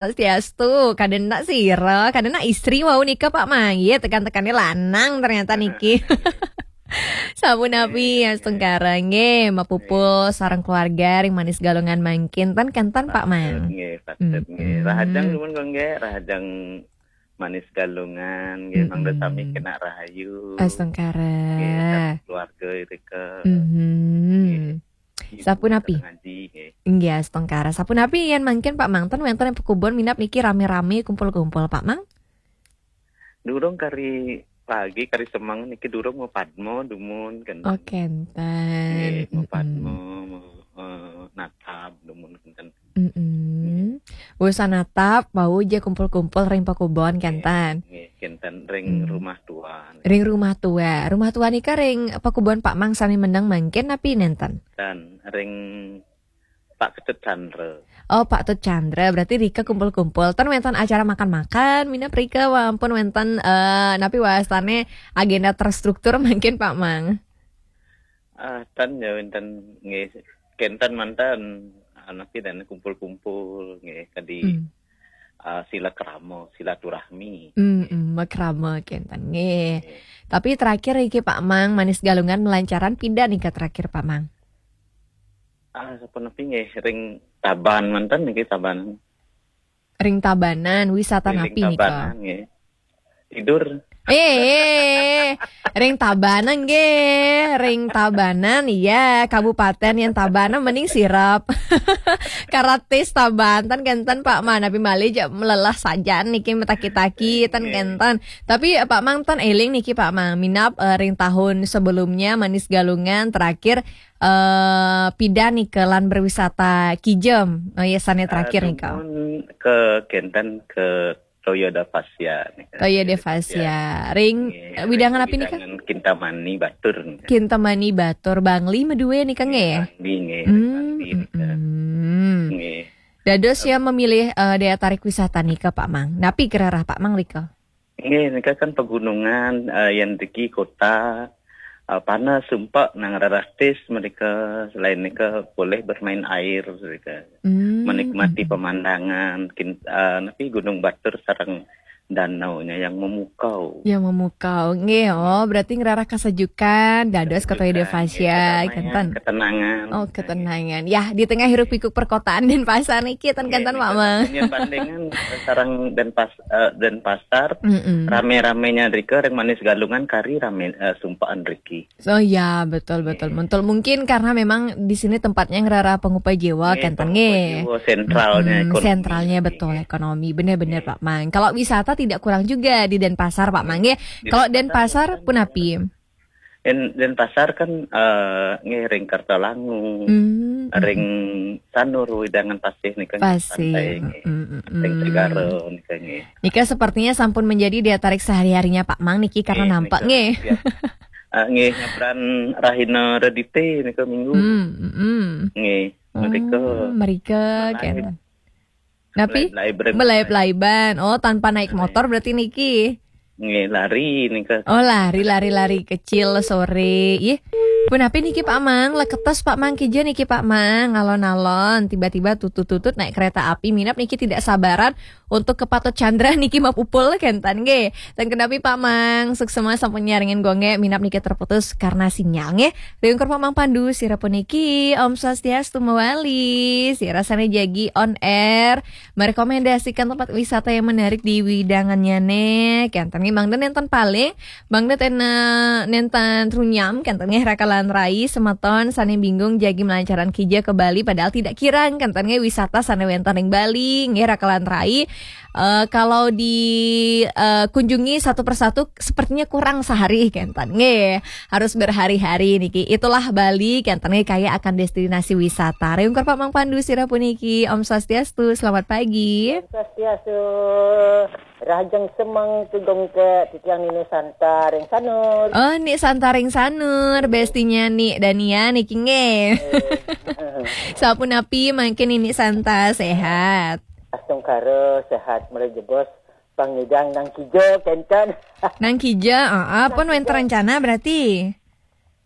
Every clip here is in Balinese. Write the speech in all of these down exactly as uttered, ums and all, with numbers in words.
Swastiastu, kadena sira, kadena istri wau nika Pak Mang. Iya, tekan-tekannya lanang ternyata niki. Sapunapi astungkara nggih, mapupul sareng keluarga ring Manis Galungan mangkin ten kenten Pak Mang. Nggih, patut nggih. Mm-mm. Rahajeng nuwun kok nggih, rahajeng Manis Galungan nggih, mangda sami Mm-mm. Kena rahayu. Astungkara. Nggih, sareng keluarga irika. Mhm. Nggih. Sapunapi? Ngaji nggih. Nggih, astungkara. Sapunapi yen mangkin Pak Mang ten wenten ing pakubon minab niki rame-rame kumpul-kumpul Pak Mang? Durung kari pagi, kari semeng niki durung mapadma dumun kenten. Oh, kenten. Nggih, mapadma, mm-mm. Ma-, eh, natap dumun kenten. Mm-mm. Nggih. Wus natap, wau ja kumpul-kumpul ring pakubon kenten. Nggih, kenten ring rumah tua. Ring rumah tua. Rumah tua nika ring pakubon Pak Mang sami meneng mangkin napi nenten? Ten ring Pak Ketut Chandra. Oh, Pak Tut Chandra. Berarti rika kumpul-kumpul. Ten wenten acara makan-makan, minab rika wau ampun wenten, eh, napi wastane agenda terstruktur mangkin Pak Mang? Ah, ten ya wenten nggih kenten manten, ah, napi ten kumpul-kumpul nggih kadi, hmm, ah, silakrama, silaturahmi. Hmm, hmm, makrama kenten nggih. Nggih. Tapi terakhir iki Pak Mang, Manis Galungan melancaran pindah nika terakhir Pak Mang? Ah, sapunapi nggih ring Tabanan manten niki Tabanan. Ring Tabanan, wisata napi nika? Ring Tabanan nggih. Tidur. Eh, ring Tabanan nggih, ring Tabanan iya, kabupaten yen Tabanan mending sirep. Karatis Tabanan kenten Pak Mang, napi malih ja melelah saja niki metaki-taki ten kenten. Tapi eh, Pak Mang ten eling niki Pak Mang, minab eh, ring tahun sebelumnya Manis Galungan terakhir eh pindah nika lan berwisata kijem. Oh ya sane terakhir nika. Dumun ke kenten ke Toya Devasya nika. Toya Devasya. Ring, nggih, eh, widangan napi nika? Widangan Kintamani Batur nika. Kintamani Batur, Bangli medue nika nggih? Bangli nggih, hmm, Bangli nika. Hmm. Nggih. Dados ya memilih eh, daya tarik wisata nika Pak Mang. Napi kerarah Pak Mang rika? Nggih, nika kan pegunungan, eh, yen riki kota, eh, panas sumpek nang rarah tis mereka, selain nika boleh bermain air mereka. Hmm. Menikmati pemandangan, kin-, eh, napi Gunung Batur sareng danaunya yang memukau. Yang memukau. Nggih, oh, berarti ngerarah kesejukan, dados Toya Devasya, nggih, kedamaian, kenten. Ketenangan. Oh, ketenangan. Ya, di tengah hiruk pikuk perkotaan Denpasar niki ten kenten, Pak Mang. Nggih, bandingan sareng Denpas-, eh, Denpasar, mm-mm, rame-ramenya rika ring Manis Galungan kari rame, eh, sumpaan riki. Oh ya, betul, betul. Nggih. Betul. Mungkin karena memang di sini tempatnya ngerarah pangupa jiwa, nggih, kenten pangupa nggih. Jiwa, sentralnya ekonomi. Sentralnya betul, ekonomi. Benar-benar, nggih, Pak Mang. Kalau wisata tidak kurang juga di Denpasar, Pak Mang nggih. Kalau Denpasar punapi? Yen Denpasar kan, eh, nggih ring Kertalangu, hmm, ring Sanur, wewidangan pasih nika nggih, pasih, pantai nggih. Mm, mm, mm. Ring Segara nika nggih. Nika sepertinya sampun menjadi daya tarik sehari-harinya Pak Mang niki karena nggih, nampak nika, nggih. Ya. Eh, nggih, nyabran Rahina Redite nika Minggu. Hmm, mm, mm. Nggih, mereka. Oh, mereka, kenten. Napi? Melaib-laib. Melaib-laiban. Oh, tanpa naik motor berarti niki. Nggih, lari nika. Oh, lari, lari, lari kecil sore. Ih, punapi niki Pak Mang, leketos Pak Mang kija niki Pak Mang, alon-alon tiba-tiba tutut-tutut naik kereta api minab niki tidak sabaran untuk ke Patut Chandra niki mapupul kenten nggih. Ten kenapi Pak Mang, suksema sampun nyarengin gongge minab niki terputus karena sinyal nggih. Riungkur Pak Mang Pandu, sira puniki, Om Swastiastu mawali. Sira sane jagi on air, merekomendasikan tempat wisata yang menarik di widangannyane. Kenten nggih, mangda nenten paling, mangda ten, eh, nenten runyam, kenten nggih raka lan rai, semeton sane bingung jagi melancaran kija ke Bali, padahal tidak kirang, kenten nggih wisata sane wenten ring Bali, nggih raka lan rai. Eh, kalau di, eh, kunjungi satu persatu, sepertinya kurang sehari, kenten. Nggih, harus berhari-hari niki. Itulah Bali, kenten nggih, kaya akan destinasi wisata. Riungkur Pak Mang Pandu, sira puniki. Om Swastiastu, selamat pagi. Om Swastiastu. Rahajeng semeng tugong ke titiang Nini Santa ring Sanur. Oh, Nik Santa ring Sanur, bestinya Nik Dania niki nggih. Eh. Sapunapi mangkin Nini Santa, sehat? Astungkara sehat, mula jebos pangidang nang kija kenten. Nang kija, heeh, pun wenten rencana berarti?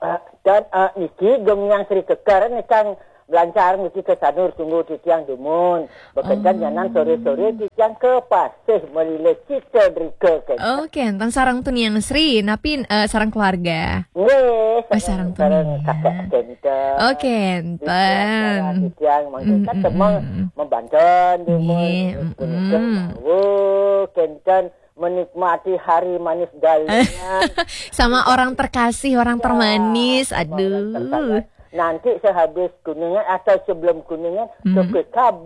Ah, dan, ah, niki geng yang Sri Kekar nih kang Blancar mesti ke Sanur tunggu titiang dumun. Bekentan nyanan sore-sore titiang ke Pasih melile cita drika ke. Oh, kenten sareng Tuniang Sri, napi eh, sareng keluarga. Nggih, Oh, sareng Tuniang. Kakak kenten. Oh, kenten. Titiang mangkin kan temang membanten dumun. Nggih, Punika mm-mm. Mawuh kenten menikmati hari manis galingan. Sama orang terkasih, orang termanis. Sama orang Aduh. tersayang. Nanti sehabis Kuningan atau sebelum Kuningan ke P K B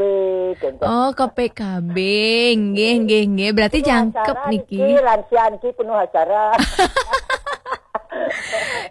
kenten. Oh, ke P K B. Nggih, nggih, nggih. Berarti jangkep Acara niki. Niki, lansia niki penuh acara.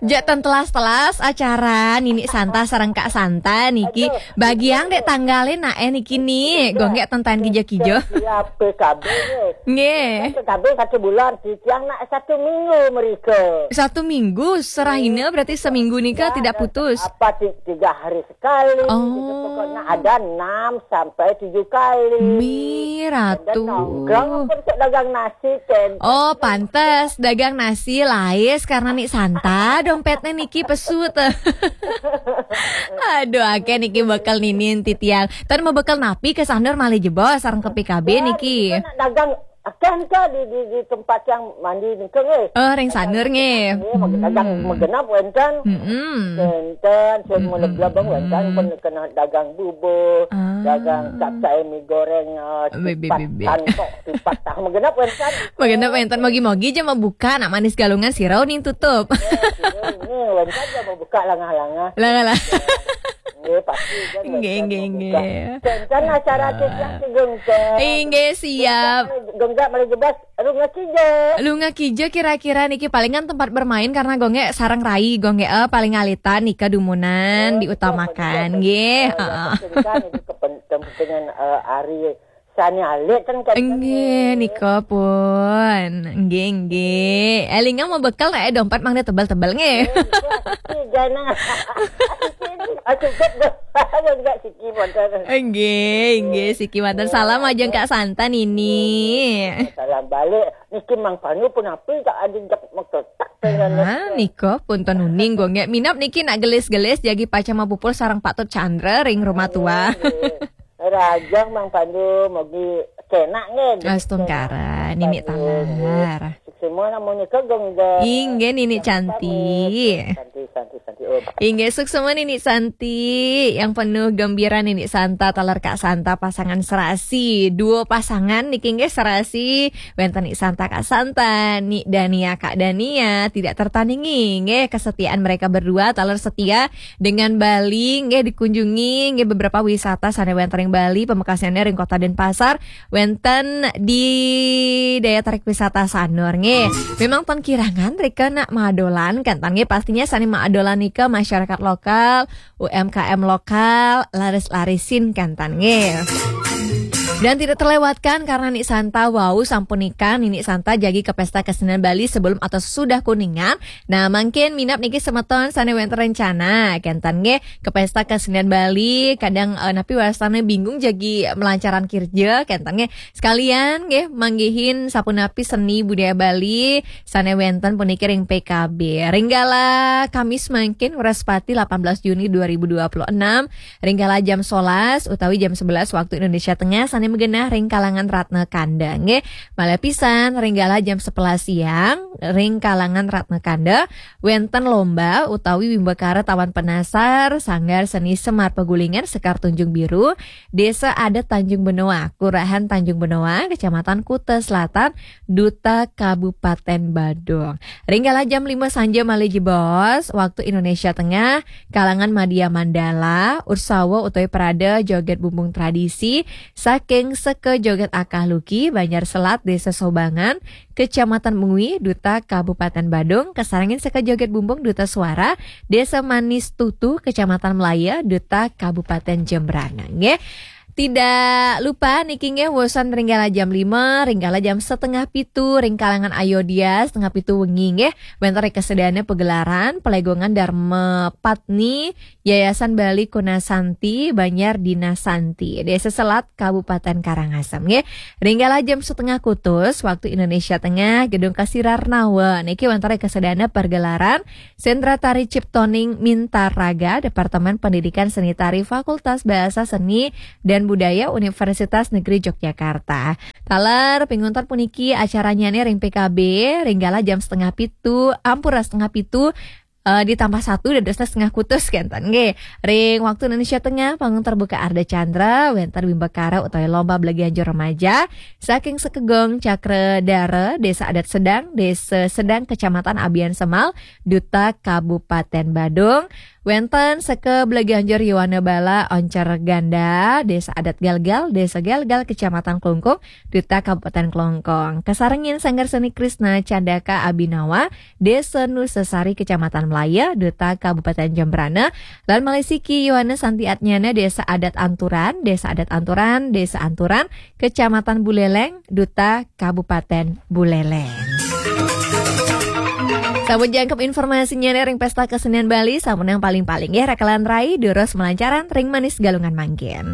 Jak ten telas-telas acara Nini Santa sareng Kak Santa niki. Bagian dek tanggalin nak eh niki ni. Gonggek tenten kijo-kijo. Ya, P K B ni. Nggih. P K B satu bulan, titiang nak satu minggu mereka. Satu minggu serahina berarti seminggu nika tidak putus. Apa ti- tiga hari sekali. Oh. Gitu. Pokoknya ada enam sampai tujuh kali. Mi Dan ratu. nongkrong pun cek dagang nasi kan. Oh, pantes dagang nasi lais karena Ni Santa dompetnya niki pesut. Aduh, akeh niki bekel Nini titiang. Ten mau bekel napi ke Sanur malih jebos sareng ke P K B niki. Nak dagang akan ke di, di, di tempat yang mandi ni ke eh. Oh, ring Sanur nggih. Eh, magenap, magenap wenten. Mm-mm. Wenten, saya mau leblabang wenten pun kena dagang bubur, Ah. dagang capcay mi goreng, uh, Be, be, tipat be, be. Tangkok, tipat tah magenap wenten. Magenap wenten mogi-mogi aja mau buka nak manis galungan sirau ning tutup. Ini wenten aja mau buka langah-langah. Lah lah. Nggih, pasti kan. Nggih, nggih, nggih. Kan acara tiap tigung kan. Inggih siap. Genggak malih jebos, Lunga Kijo. Lunga Kijo kira-kira niki palingan tempat bermain karena gonge sareng rai gonge eh, paling alitan nika dumunan diutamakan nggih. Heeh. Kan itu kepen- kepentingan eh, hari sani alit kan kan. Nggih, nika pun. Nggih, nggih. Elinga mau bekel nak eh, dompet mangga tebel-tebel nggih. Jana. Aku jet dah. Aku enggak siki modal. Nggih, nggih, siki manten salam aja Kak Santa Nini. Salam balik. Niki Mang Panu pun api tak ada jak makletak. Ah, nika pun ten uning gonge. Minap niki nak gelis-gelis jagi paca mapupul sareng Patut Chandra ring rumah tua. Rajang Mang Pandu mogi kenak nggih. Astungkara, Nini talar. Semua namun nika gengga. Inggih Nini cantik. Santi, santi, santi. Oh, Inggih suksma Nini Santi yang penuh gembira Nini Santa taler Kak Santa pasangan serasi. Duo pasangan niki nggih serasi. Wenten Ni Santa Kak Santa, Ni Dania Kak Dania tidak tertandingi nggih kesetiaan mereka berdua taler setia dengan Bali nggih dikunjungi nggih beberapa wisata sane wenten ring Bali pamekasane ring Kota Denpasar wenten di daya tarik wisata Sanur nggih. Memang ten kirangan rika nak madolan kan tan nggih pastinya sane madolan nika masyarakat lokal, U M K M lokal, laris-larisin kan tan nggih. Dan tidak terlewatkan karena Ni Santa wau sampun nikah, Nini Santa jagi ke pesta kesenian Bali sebelum atau sesudah Kuningan. Nah, mungkin minap niki semeton sane wenten rencana kenten nggih ke pesta kesenian Bali, kadang eh, napi wastane bingung jagi melancaran kerja kenten nggih. Sekalian nggih manggihin sapunapi seni budaya Bali sane wenten puniki ring P K B. Ring gala Kamis mangkin Wrespati delapan belas Juni dua ribu dua puluh enam, ring gala jam sebelas utawi jam sebelas waktu Indonesia Tengah sane magenah ring kalangan Ratna Kanda nggih. Malih pisan ring gala jam sebelas siang ring kalangan Ratna Kanda wenten lomba utawi wimbakara tawan penasar Sanggar Seni Semar Pegulingan Sekar Tanjung Biru, Desa Adat Tanjung Benoa, Kelurahan Tanjung Benoa, Kecamatan Kuta Selatan, Duta Kabupaten Badung. Ring gala jam lima sanja malih jebos, waktu Indonesia Tengah, kalangan Madya Mandala, Ursawa utawi Prada joget bumbung tradisi saking Seka Joget Akah Luki, Banjar Selat, Desa Sobangan, Kecamatan Mengwi, Duta Kabupaten Badung, kasarengin Seka Joget Bumbung, Duta Suara, Desa Manis Tutu, Kecamatan Melaya, Duta Kabupaten Jembrana nggih. Tidak lupa niki nggih, wusan ring kala jam lima, ring kala jam setengah pitu, ring kalangan Ayodya, setengah pitu wengi nggih, wénten ring kasedayannya pagelaran Pelegongan Dharma Patni, Yayasan Bali Kunasanti, Banjar Dinasanti, Desa Selat, Kabupaten Karangasem nggih. Ring kala jam setengah kutus, waktu Indonesia Tengah, Gedung Kasirarnawa, niki wénten ring kasedayannya pagelaran Sentra Tari Ciptoning Mintaraga, Departemen Pendidikan Seni Tari, Fakultas Bahasa Seni dan Budaya, Universitas Negeri Yogyakarta. Taler, pinguntat puniki acaranya nih ring P K B, ring kala jam setengah pitu, ampura setengah pitu, eh, ditambah satu, dadosnya setengah kutus, kénten nggih. Ring waktu Indonesia Tengah, panggung terbuka Ardha Candra, wénten wimbakara utawi lomba belaganjur remaja, saking Sekegong Cakradara, Desa Adat Sedang, Desa Sedang, Kecamatan Abiansemal, Duta Kabupaten Badung. Wénten seka Belaganjur Yowana Bala Oncer Ganda, Desa Adat Galgal, Desa Galgal, Kecamatan Klungkung, Duta Kabupaten Klungkung. Kasarengin Sanggar Seni Krishna Candaka Abinawa, Desa Nusasari, Kecamatan Melaya, Duta Kabupaten Jembrana, lan malih siki Yowana Santi Atnyana, Desa Adat Anturan, Desa Adat Anturan, Desa Anturan, Kecamatan Buleleng, Duta Kabupaten Buleleng. Sampun jangkep informasinya nih ring Pesta Kesenian Bali, sampun yang paling-paling ya, rakelan rai, durus malancaran ring Manis Galungan mangkin.